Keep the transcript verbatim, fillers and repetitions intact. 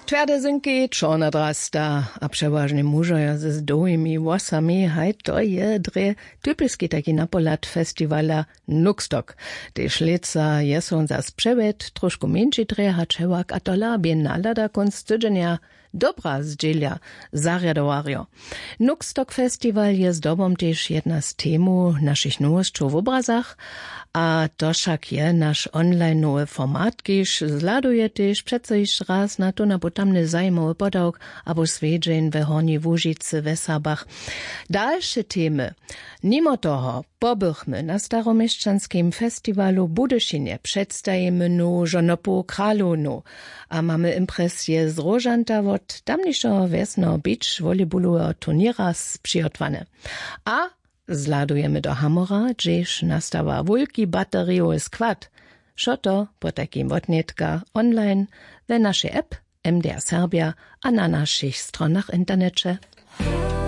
Twjerde zynki, čorna drasta a přewažnje mužojo z dołhimi włosami, haj to je drje typiski taki napohlad festiwala Nuxtok. Tež lětsa je so wón zas přewjedł, trošku mjeńši drje hač hewak, a tola bě nahlada kónc tydźenja dobra zdźělja zarjadowarjo. Nuxtok festiwal je zdobom tež jedna z temow našich nowosćow w obrazach. A to wšak je naš onlinowy format, kiž zhladuje tež přeco hišće raz na tón abo tamny zajimowy podawk abo swjedźeń we Hornjej Łužicy, we Serbach. Dalše temy. Nimo toho pobychmy na staroměšćanskim festiwalu w Budyšinje, předstajimy nowu žonopowu kralownu a mamy impresije z róžanta wot tamnišeho wjesneho beach volleyballoweho turněra přihotwane. A zhladujemy do Hamora, hdźež nastawa wulki baterijowy skład. Wšo to potajkim wotnětka online we našej app M D R Serbia a na našich stronach w interneće.